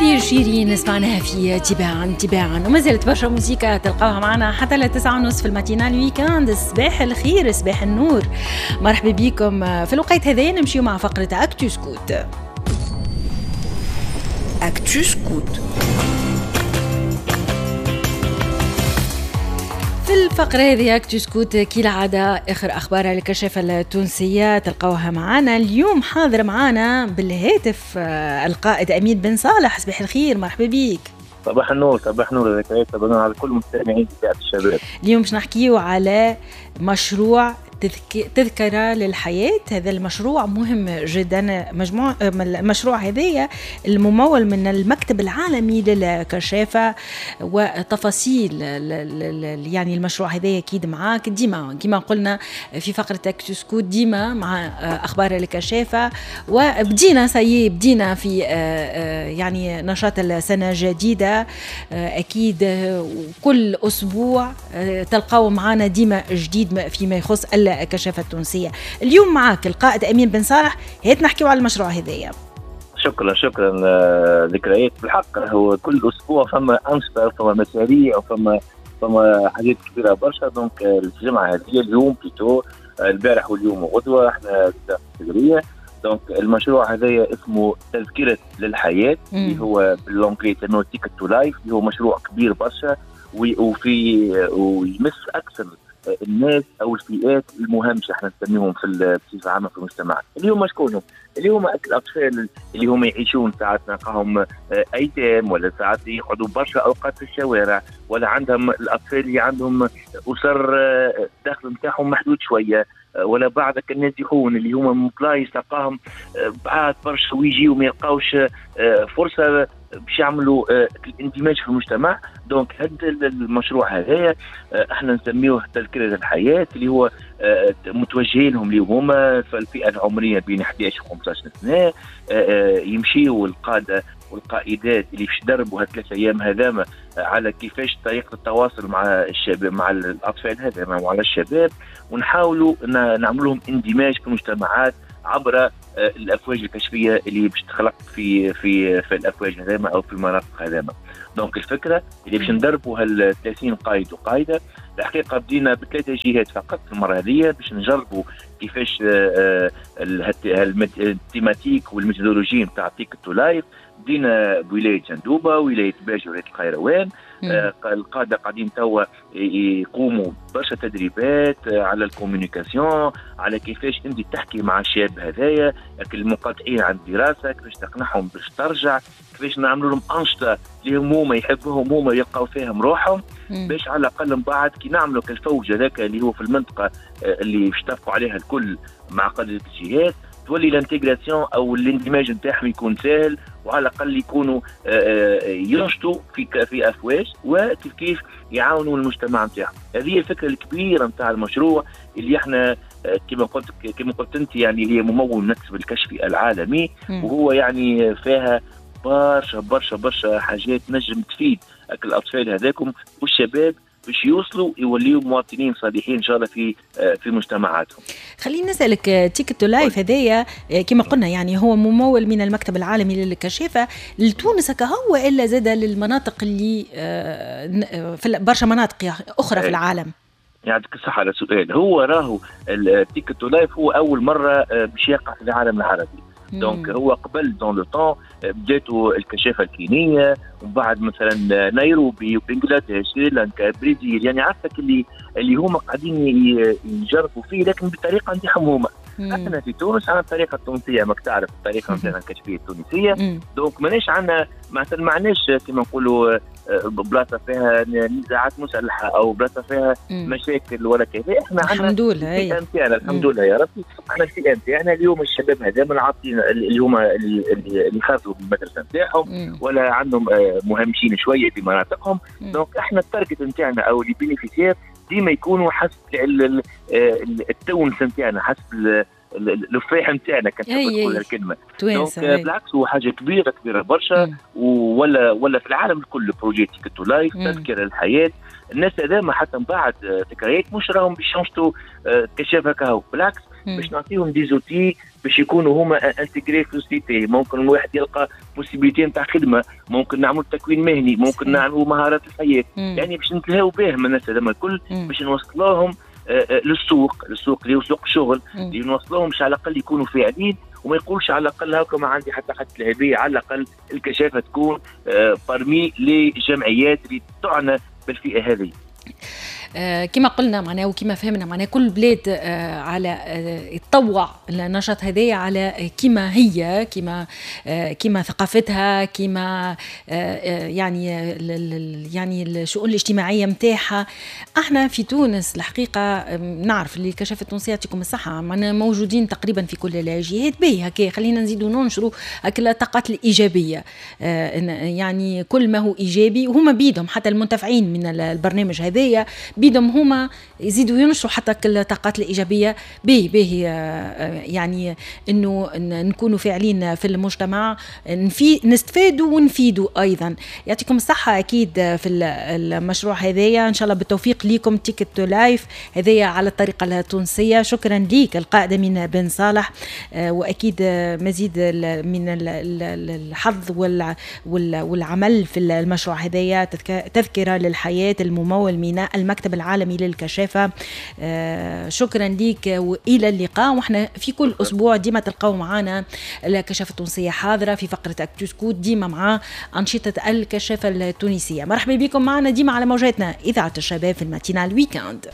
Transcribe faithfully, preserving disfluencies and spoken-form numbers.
هذه شيرين سمعناها في تباعا تباعا، وما زالت برشا موسيقى تلقاوها معنا حتى لتسعة ونص في ال matinale week-end. صباح الخير، صباح النور، مرحبا بكم في الوقت هذا. نمشيو مع فقرة Actu Scout. Actu Scout. في الفقرة هذه Actu Scout كالعادة آخر أخبار الكشافة التونسية تلقوها معنا اليوم. حاضر معنا بالهاتف القائد أمين بن صالح. صباح الخير، مرحبا بك. صباح النور، صباح النور ذكريات، صباح النور على كل المستمعين بتاعت الشباب. اليوم باش نحكيو على مشروع تذكرة للحياة. هذا المشروع مهم جدا، مجموع المشروع هذايا الممول من المكتب العالمي للكشافة، وتفاصيل يعني المشروع هذايا أكيد معاك ديما كما قلنا في فقرة Actu Scout ديما مع أخبار الكشافة. وبدينا سي بدينا في يعني نشاط السنة الجديدة، أكيد كل أسبوع تلقاو معنا ديما جديد فيما يخص الكشافة التونسية. اليوم معاك القائد أمين بن صالح، هات نحكيو على المشروع هذايا. شكرا شكرا ذكريات. بالحق هو كل أسبوع فما أنشطة، فما مشاريع، وفما فما حاجات كبيرة برشا. donc الجمعة هذه اليوم plutôt البارح واليوم وغدوة احنا في donc المشروع هذايا اسمه تذكرة للحياة، اللي هو بال anglais تسموه Ticket to Life، اللي هو مشروع كبير برشا وفي ويمس أكثر الناس او الفئات المهمشه احنا نسميهم في بصفة عامة في المجتمع. اللي هما شكونهم؟ اللي هما الاطفال اللي هما يعيشون ساعات نلقاهم ايتام، ولا ساعات يقعدوا برشا اوقات في الشوارع، ولا عندهم الاطفال اللي عندهم اسر الدخل نتاعهم محدود شوية، ولا بعض النازحون اللي هما من بلايص تلقاهم بعاد برشا ويجيو ما يلقاوش فرصة باش يعملوا الاندماج في المجتمع. donc هذا المشروع هذايا احنا نسميوه تذكرة الحياة، اللي هو متوجهين لهم اللي هما في الفئة العمرية بين أحد عشر و خمسة عشر سنة، يمشيوا القادة والقائدات اللي باش يدربوا هالثلاث ايام هذاما على كيفاش طريقة التواصل مع الشباب، مع الاطفال هذاما وعلى الشباب، ونحاولوا نعمل لهم اندماج في المجتمعات عبر الافواج الكشفيه اللي باش تخلق في في في الافواج هذاما او في المناطق هذاما. donc الفكرة اللي باش ندربوا هال ثلاثين قائد وقائده، الحقيقة بدينا بثلاثة جهات فقط المرة هذه باش نجربوا كيفاش ال thématique وال méthodologie نتاع Ticket to Life. بدينا بولاية جندوبه، ولاية باجه، ولاية القيروان. آه القادة قاعدين توا يقوموا برشا تدريبات على ال communication، على كيفاش انت تحكي مع الشاب هذايا المقاطعين عن الدراسة، كيفاش تقنعهم باش ترجع، كيفاش نعملوا لهم انشطة اللي هما يحبوهم هما يلقاو فيهم روحهم، باش على الاقل من بعد كي نعملوا كالفوج هذاك اللي هو في المنطقة اللي باش اتفقوا عليها الكل مع قاده الجهات، تولي l'intégration او الاندماج نتاعهم يكون سهل، وعلى الاقل يكونوا ينشطوا في في افواج وكيف كيف يعاونوا المجتمع نتاعهم. هذه هي الفكرة الكبيرة نتاع المشروع اللي احنا كما قلت كما قلت انت يعني هي ممول المكتب الكشفي العالمي، وهو يعني فيها برشا برشا برشا حاجات نجم تفيد الاطفال هذاكم والشباب باش يوصلوا يوليوا مواطنين صالحين ان شاء الله في في مجتمعاتهم. خليني نسالك، Ticket to Life هذايا كما قلنا يعني هو ممول من المكتب العالمي للكشافه لتونس كهو والا زاد للمناطق اللي في برشا مناطق اخرى في العالم؟ يعطيك الصحة على السؤال. هو راهو ال Ticket to Life هو اول مرة باش يقع في العالم العربي. donc هو قبل dans le temps بداتوا الكشافه الكينيه، ومن بعد مثلا نيروبي وبنغلاديش، سريلانكا، برازيل، يعني عرفتك اللي اللي هما قاعدين يجربوا فيه لكن بطريقة نتاعهم هما. احنا في تونس عندنا الطريقة التونسية، ماك تعرف الطريقة نتاعنا الكشفيه التونسية. donc ماناش عندنا مثلا ما عندناش كيما نقولوا بلاصة فيها نزاعات مسلحة او بلاصة فيها مشاكل ولا كذا. احنا عندنا الحمد لله الفئة نتاعنا الحمد لله يا ربي، احنا الفئة نتاعنا اليوم الشباب هذا عاطين اللي هما اللي خرجوا من المدرسة نتاعهم ولا عندهم مهمشين شوية في مناطقهم. donc احنا ال target نتاعنا او les bénéficiaires ديما يكونوا حسب التونس نتاعنا، حسب اللفاح نتاعنا كان تقول الكلمة. donc بالعكس هو حاجة كبيرة كبيرة برشا، ولا ولا في العالم الكل projet Ticket to Life تذكره للحياة. الناس هذا حتى من بعد ذكريات مش راهم باش ينشطوا كشاف هكا، بالعكس باش نعطيهم des outils باش يكونوا هما intégrés في ال société. ممكن الواحد يلقى possibilité نتاع خدمه، ممكن نعملوا تكوين مهني، ممكن نعملوا مهارات الحياه، يعني باش نتلهاو بهم الناس هذوما الكل، باش نوصلوهم آه، آه، للسوق، للسوق اللي هو سوق الشغل، اللي نوصلوهم باش على الاقل يكونوا فاعلين وما يقولش على الاقل هاكا ما عندي حتى حد الهديه. على الاقل الكشافه تكون parmi les جمعيات اللي تعنى بالفئه هذه. آه، كما قلنا معناها وكما فهمنا، معناها كل بلاد آه، على آه، تطوع النشاط هذايا على كما هي، كما كما ثقافتها، كما يعني يعني الشؤون الاجتماعية نتاعها. احنا في تونس الحقيقة نعرف اللي الكشافه التونسية يعطيكم الصحه، معنا موجودين تقريبا في كل الجهات. باهي هكا، خلينا نزيدوا ننشروا الطاقات الايجابيه، يعني كل ما هو ايجابي، وهما بيدهم حتى المنتفعين من البرنامج هذايا بيدهم هما يزيدوا ينشروا حتى الطاقات الايجابيه. به به آه، يعني انه نكونوا فاعلين في المجتمع، نفي نستفادوا ونفيدوا ايضا. يعطيكم الصحة اكيد في المشروع هذايا، ان شاء الله بالتوفيق ليكم. Ticket to Life هذايا على الطريقة التونسيه. شكرا ليك القائد امين بن صالح، آه، واكيد مزيد من الحظ والعمل في المشروع هذايا، تذكره للحياة الممول من المكتب العالمي للكشافة. آه، شكرا لك والى اللقاء. واحنا في كل اسبوع ديما تلقاو معنا الكشافة التونسية حاضرة في فقرة Actu Scout، ديما مع أنشطة الكشافة التونسية. مرحبا بكم معنا ديما على موجاتنا إذاعة الشباب في ال matinale week-end.